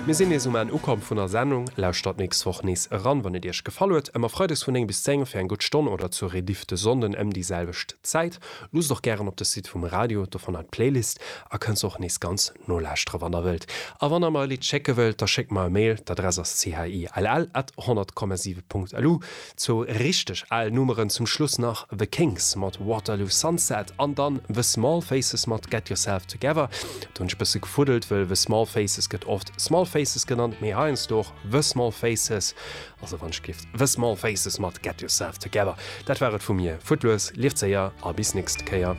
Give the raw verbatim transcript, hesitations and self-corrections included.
Mir sinn nees um Enn ukomm vun der Sendung. Lauschtert nächst Woch nees eran, wann et iech gefall huet. Ëmmer freides vun néng bis zéng fir eng gutt Stonn oder zur Rediff de Sonnden ëm déi selwecht Zäit. Luusst och gären op de Site vum Radio, do fannt der d'Playlist a kënnt se och nees ganz nolauschtere wann der wëllt. A wann der mer e Lidd schécke wëllt, da schéckt mer e Mail, d'Adress ass chill at honnert Komma siwe Punkt lu. Zwou richteg al Nummeren zum Schluss nach, The Kinks mat Waterloo Sunset an dann The Small Faces mat Get Yourself Together. Do hunn ech bësse gefuddelt, wëll The Small Faces gëtt oft Small Faces genannt, mee heiansdo och The Small Faces, also wann ech giff The Small Faces mat Get Yourself Together. Dat war et vu mir, fuert lues, lieft séier a bis nächst Kéier.